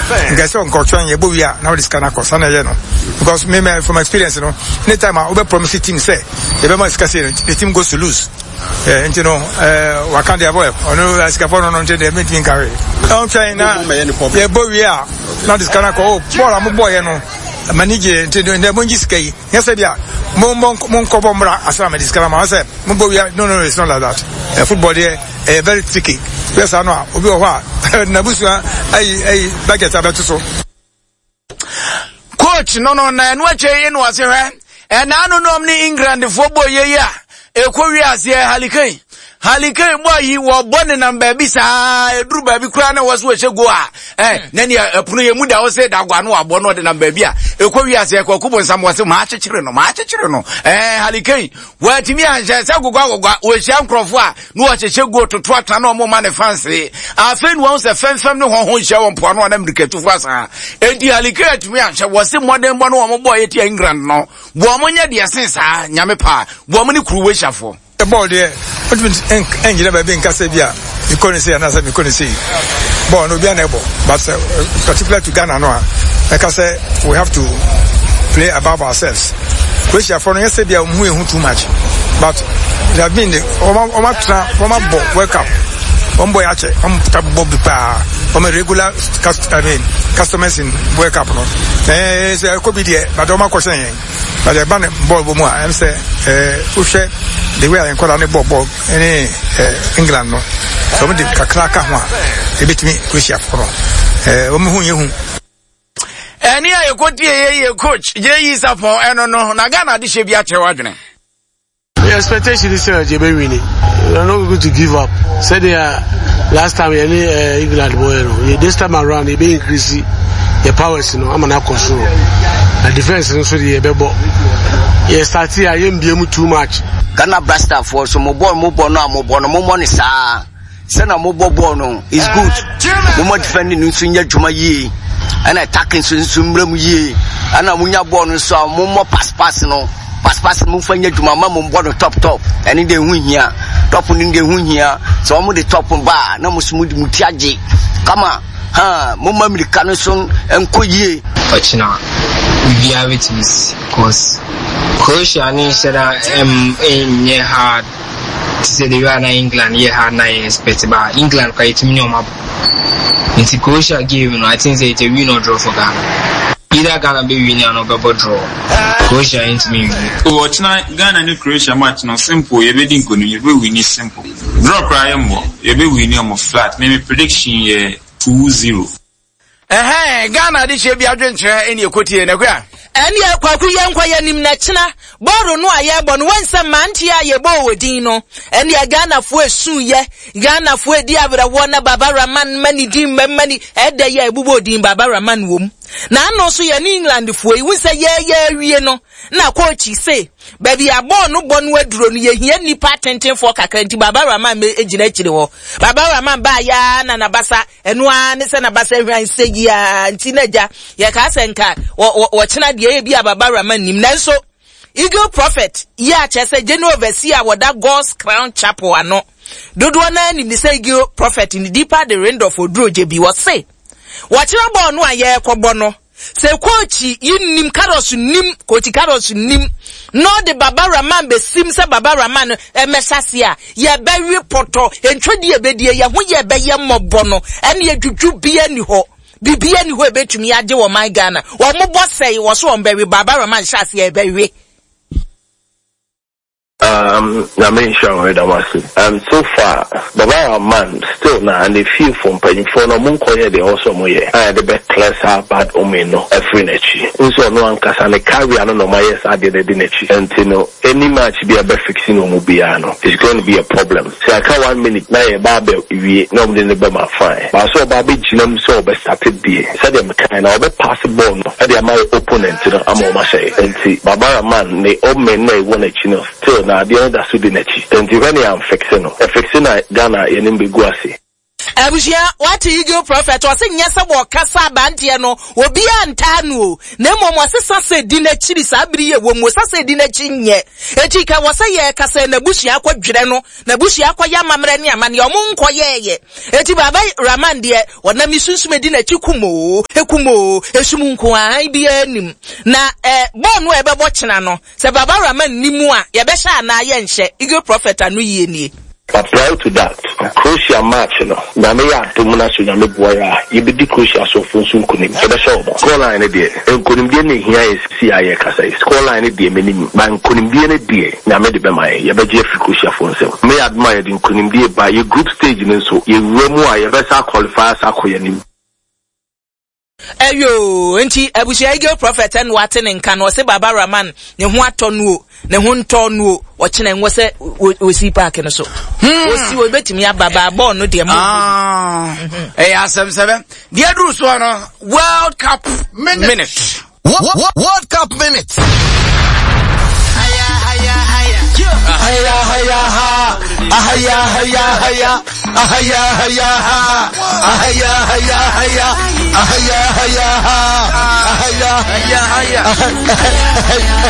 Nka ɛsɛ nka ɔtwɛn yɛbɔ wie a na ɔde sika no akɔ. Saa na ɛyɛ no. Because me me from experience no, anytime a wobɛ promise team sɛ yɛbɛma sika sei no, the team goes to lose. Eh, nti no eh, waka deɛ bɔ ɔno asikafoɔ no no nti deɛ mentumi nka hwee. Ɔntwɛn na yɛbɔ wie a na ɔde sika no akɔ. Oh, bɔɔl a mobɔɔyɛ no m'ani gye nti ndɛ mongye sika yi. Nyɛ sɛ bia mommɔ monkɔbɔ mmra ansa na mede sika no ama sɛ mobɔ wie a no no no it's not like that. Eh, football deɛ ɛyɛ very tricky. Yɛ saa no a obi wɔ hɔ a n'abusua ayi ayi budget abɛto so. Coach no no na ɛno akyɛ yi na ɔse hwɛ ɛnaa no nom ne Englandfoɔ bɔ yɛ yi a ɛkɔ wie aseɛ Harry Kane Harry Kane bɔ yi wɔbɔ nenam baabi saa ɛduru baabi koraa na wɔ so wɔhyɛ go a ɛ na nea ɛpono yɛ mu da hɔ sɛ dago ano abɔ no ɔde nam baabi a ɛkɔ wie aseɛ kɔko bɔ nsam wɔ se maa kyekyere no maa kyekyere no ɛɛ Harry Kane wɔatumi anhyɛ sɛ gogwa gogwa wɔhyia nkurɔfoɔ a na wɔhyehyɛ go toto atra na wɔn ma ne fanse afei na wɔn sɛ fɛmfɛm ne wɔn ho nhyia wɔ mpoano a na mmirikatufo asan enti Harry Kane atumi anhyɛ wɔ se mmɔdenbɔ no wɔn bɔ yɛ tia England no wɔn nyɛ deɛ sen saa nyame paa wɔn ne Croatiafoɔ. Bɔɔl deɛ, wontumi ngyina baabi nka sɛ bi a mekɔ no sei anaasɛ mekɔ no sei. Bɔɔl no obiara na ɛbɔ, but sɛ particular to Ghana no a, mɛka sɛ we have to play above ourselves. Croatiafoɔ no nyɛ sɛ bi a wɔn ho yɛ hu too much, but they have been the wɔn atena wɔn abɔ World Cup, wɔn bɔ yɛ akyɛ, wɔn ta bɔ bi paa, wɔn regular cust I mean customers in World Cup no. Ɛɛ sɛ ɛkɔ bi deɛ, but wɔn akɔhyɛn yɛn. But ɛba no bɔɔl bɔ mu a, ɛm sɛ ɛɛ wohwɛ the way a nkwadaa no bɔ bɔɔl ne ɛɛ England no, sɛ wɔn de kakra ka ho a, ebetumi Croatia fo no. Ɛɛ wɔn ho nyɛ hu. Ɛne a yɛkɔtie yɛ yɛ coach J.E. Sapon ɛno no na Ghana adehyɛ bi akyerɛ w'adwene. The expectation is sɛ yɛbɛ win. We are not going to give up. Sɛdeɛ last time yɛne eh, England bɔɔyɛ no, yɛ this time around yɛbɛ increase yɛ powers no ama no akɔ soro. Na defense no nso deɛ yɛbɛbɔ. Yɛ start a yɛmbie mu too much. Ghana Blasterfoɔ so mo bɔɔl mo bɔ no a mo bɔ no mo mmɔ no saa. Sɛnea mobɔ bɔɔl no is good. Momma defending no nso nyɛ adwuma yie, ɛna attacking nso nso mmra mu yie. Ɛna monya bɔɔl no nso a mommɔ pass pass no, pass pass no momfa nyɛ adwuma ma mombɔ no top top. Ɛne deɛ ɛho hia. Top no deɛ ɛho hia. Sɛ wɔn de top ba a na mo nso mode mo ti agye kama. Ha, momma mmirika no nso nkɔ yie. Ɔkyena biribiara bɛtumi si cause Croatia ne nhyɛ da nyɛ hard. Te sɛ the way a na England yɛ ha na yɛ expect ba England koraa yɛtumi ne wɔn abɔ. Nti Croatia game no I think sɛ it's a win or draw for Ghana. Either Ghana bɛ win anaa ɔbɛbɔ draw. Croatia yɛntumi nwini. Oh ɔkyena Ghana ne Croatia match no simple yɛbɛdi nkonim yɛbɛ winni simple draw koraa yɛmmɔ yɛbɛ winni ɔmo flat me me prediction yɛ 2-0. Ɛhɛn, Ghana adehyeɛ bi adwenkyerɛ ɛne ɛkɔtie na kua. Ɛneɛ Kwaku yɛnkɔ yɛnim na kyena bɔɔlo no a yɛbɔ no woahu sɛ mmeranteɛ a yɛbɔɔ wɔ din no ɛneɛ Ghanafoɔ ɛsuuyɛ Ghanafoɔ ɛdi awerɛhoɔ na Baba Rahman ma ne din mmam ma ne ɛdɛ yi a ɛbobɔɔ din Baba Rahman wom na ano nso yɛne Englandfoɔ yi wohu sɛ yɛyɛ awie no na kookyi se baabi a bɔɔl no bɔ no aduro no yɛhia nnipa atentenfoɔ kakra nti Baba Rahman gyina akyire hɔ Baba Rahman baayɛ ara na nabasa Ɛno ara ne sɛ n'abasa hwan sɛ yi ara nti na agya yɛkaa sɛ nka wɔkyena deɛ ebi a Baba Rahman nim. Nanso Eagle Prophet yi a kyerɛ sɛ General Overseer a wɔda God's Crown Chapel ano dodoɔ no ara nim ne sɛ Eagle Prophet ne Deeper de Rindolf Odurogye bi wɔse wɔkyena bɔɔl no a yɛrekɔbɔ no Sɛ kookyi yi nnim, Carlos nnim, kookyi Carlos nnim, na ɔde Baba Rahman bɛsim sɛ Baba Rahman no mmɛhyɛ aseɛ a, yɛbɛwe pɔtɔ, ntwɛdeɛ a ɛbɛdie, yɛn ho yɛ bɛyɛ mmɔbɔ no, ɛneɛ dwudwu biara nni hɔ, biribiara nni hɔ a ɛbɛtumi agye wɔ man Ghana. Wɔn bɔ sɛe, wɔ so wɔn bɛwe, Baba Rahman hyɛ aseɛ a yɛbɛwe. Um, Nyame nhyira wo, yɛda mo ase. Um, so far, Baba Rahman still na ne fiefo mpanyimfoɔ no ɔmo nkɔyɛ deɛ ɛwɔ sɛ ɔmo yɛ a yɛde bɛ clear saa bad omen no afiri n'akyi. Wohu sɛ ɔno ankasa ne career no na ɔmo ayɛ saa adeɛ no adi n'akyi. Nti no, any match bi a ɛbɛ fixi no ɔmo biara no, it's going to be a problem. Sɛ aka one minute na yɛba abɛ wie na ɔmo de no bɛma fine. But sɛ ɔba abɛgyina mu sɛ ɔbɛ starte deɛ, sɛdeɛ mekaeɛ no, ɔbɛ pass ball no de ama yɛ opponent no ama ɔmo ahyɛ yɛ. Nti Baba Rahman ne omen no a ɛwɔ n'akyi no still na adeɛ no da so di n'akyi. Nti hwɛ ne yɛanfixe no. Yɛfixe no a Ghana yɛnim bɛgu ase. Abusua, wate Eagle Prophet, ɔse nyɛ sɛ wɔkasa abanteɛ no, obiara ntaa no o, na mmom ɔse sasa di n'akyiri saa bere yi ɛwɔ mu, sasa di n'akyi nyɛ. Eti ka wɔ sɛ yɛkasa n'abusua akɔdwerɛ no, n'abusua akɔyɛ amammerɛ ne amanneɛ, ɔmo nkɔyɛɛyɛ. Eti Baba Rahman deɛ, ɔnam ne sunsum edi n'akyi kum oo, ekum oo, esum nko ara, hann biara nnim. Na eh, bɔɔl no a ɛbɛbɔ kyena no, sɛ Baba Rahman nni mu a, yɛbɛhyɛ anaa yɛnhyɛ? Eagle Prophet ano yie nie. But prior to that, Croatia match no, Nyame yɛ adom na sɛ Onyame boa yɛ a, yɛbɛdi Croatia asomfo nso nkunim. Yɛbɛhyɛ wɔn. Score line no deɛ, nkunimdie na ɛhia yɛn seesei a yɛrekasa yi. Score line no deɛ, mennim. But nkunimdie no deɛ, Nyame de bɛma yɛn. Yɛbɛgye afiri Croatiafoɔ nsam. Nyame yɛ adom a, yɛde nkunimdie ba. Yɛ group stage no nso, yɛwura mu a, yɛbɛsan aqualify asan akɔ yɛn anim. Ɛyoo, nti abusua Eagle Prophet ɛna wate ne nka no, ɔse Baba Rahman ne ho atɔ no o, ne ho ntɔ no o, ɔkyena nwɔ sɛ osi park no so. Osi obetumi aba ba bɔɔl no deɛ mo. Ah, ɛyɛ asɛm sɛbɛ. Deɛ duru soɔ no, World Cup minute. minute. World Cup minute. Ahaya haya ha. Ahaya haya haya. Ahaya haya ha. Ahaya haya haya. Ahaya haya ha. Ahaya haya haya.